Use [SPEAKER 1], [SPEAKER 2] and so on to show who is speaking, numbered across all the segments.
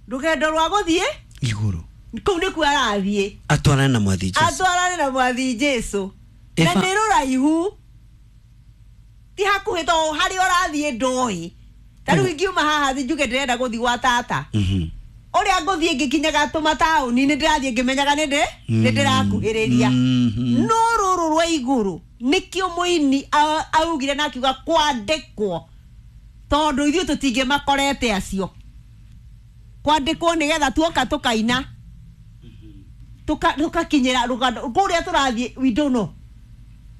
[SPEAKER 1] Rũgendo rwa gũthiĩ
[SPEAKER 2] igũrũ.
[SPEAKER 1] Kũu nĩkuo arathiĩ.
[SPEAKER 2] Atwarane na Mwathi Jesu.
[SPEAKER 1] Atwarane na Mwathi Jesu na nĩ rũraihu, ti hakuhĩ, to harĩa ũrathiĩ ndũĩ. Ta rĩu ingiuma haha thi njuge ndĩrenda gũthiĩ gwa tata, ũrĩa ngũthiĩ ngĩkinyaga tũmataũni nĩ ndĩrathiĩ ngĩmenyaga nĩ ndĩrakuhĩrĩria. No rũrũ rwa igũrũ nĩkĩo mũini augire na akiuga kwandĩkwo, tondũ ithuĩ tũtingĩmakorete acio kwandĩkwo, nĩgetha tuoka tũkaina tũkakinyĩra rũgano kũrĩa tũrathiĩ. We don't know,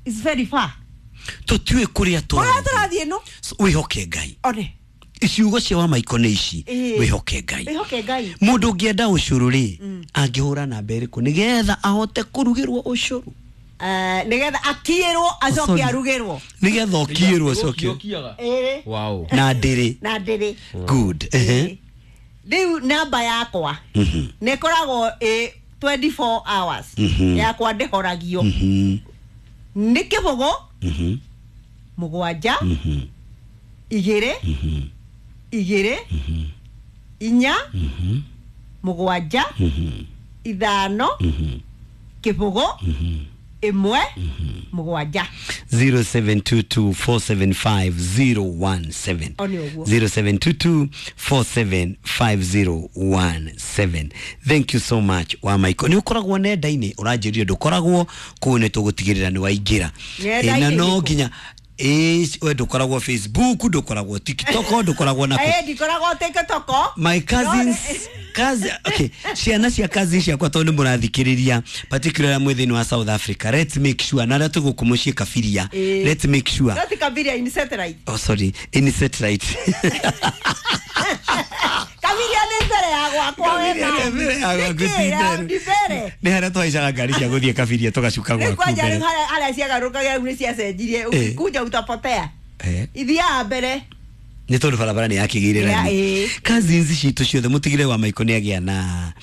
[SPEAKER 1] it's very far.
[SPEAKER 2] Tũtiũĩ kũrĩa
[SPEAKER 1] kũrĩa
[SPEAKER 2] tũrathiĩ.
[SPEAKER 1] Tũrathiĩ no.
[SPEAKER 2] So, wĩhoke Ngai.
[SPEAKER 1] One.
[SPEAKER 2] Ciugo cia wa Maiko nĩ ici. Wĩhoke Ngai.
[SPEAKER 1] Wĩhoke Ngai.
[SPEAKER 2] Mũndũ ũngĩenda ũcũrũ rĩ, angĩhũra namba ĩrĩkũ nĩgetha ahote kũrugĩrwo ũcũrũ?
[SPEAKER 1] Nĩgetha akiĩrwo acoke
[SPEAKER 2] Sorry.
[SPEAKER 1] arugĩrwo.
[SPEAKER 2] Nĩgetha ũkiĩrwo ũcoke.
[SPEAKER 3] Ũkiaga.
[SPEAKER 1] Ĩĩ.
[SPEAKER 2] Na ndĩrĩ.
[SPEAKER 1] Na ndĩrĩ.
[SPEAKER 2] Good. Ehe.
[SPEAKER 1] Rĩu namba yakwa nĩ ĩkoragwo ĩ 24 hours. Yakwa ndĩhoragio. Nĩ 0 7 2 2 4 7 5 0 1 7.
[SPEAKER 2] 0722475017.
[SPEAKER 1] O nĩ ũguo.
[SPEAKER 2] 0722475017. Thank you so much, wa Maiko. Nĩ ũkoragwo nenda-inĩ? Ũranjĩrire ndũkoragwo kũu, nĩ tũgũtigĩrĩra nĩ waingĩra.
[SPEAKER 1] Nenda-inĩ
[SPEAKER 2] Na no
[SPEAKER 1] nĩkũ?
[SPEAKER 2] nginya ĩ we ndũkoragwo Facebook, ndũkoragwo TikTok, ndũkoragwo na
[SPEAKER 1] Ĩ, ndikoragwo TikTok.
[SPEAKER 2] My cousins, cousin, okay, ciana cia cousin ciakwa, tondũ nĩ mũrathikĩrĩria, particularly mwĩ thĩinĩ wa South Africa, let's make sure na arĩa twĩ gũkũ mũciĩ Kabiria, let's make sure.
[SPEAKER 1] No ti Kabiria, in satellite.
[SPEAKER 2] Oh, sorry, in satellite.
[SPEAKER 1] Kabiria nĩ mbere ya gwakwa we.
[SPEAKER 2] Kabiria nĩ mbere ya gwaku,
[SPEAKER 1] Nĩkĩ?
[SPEAKER 2] ti
[SPEAKER 1] Ya,
[SPEAKER 2] mbere.
[SPEAKER 1] ndi mbere.
[SPEAKER 2] Nĩ harĩa twahaicaga ngari cia gũthiĩ Kabiria tũgacuka
[SPEAKER 1] Rĩu
[SPEAKER 2] gwaku
[SPEAKER 1] kwanja
[SPEAKER 2] mbere.
[SPEAKER 1] rĩu harĩa ciagarũrũkaga rĩu nĩ ciacenjirie. Ũkikuja utapotea. Ithiaga mbere.
[SPEAKER 2] Nĩ tondũ barabara nĩ yakĩgĩire rami. Cousins citũ ciothe, mũtigĩre wa Maiko nĩ agĩa na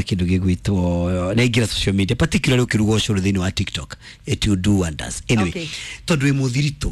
[SPEAKER 2] kĩndũ gĩgwĩtwo nĩ aingĩra social media, particularly ũkĩruga ũcũrũ thĩinĩ wa TikTok, it will do wonders anyway. Tondũ wĩ mũthiritũ.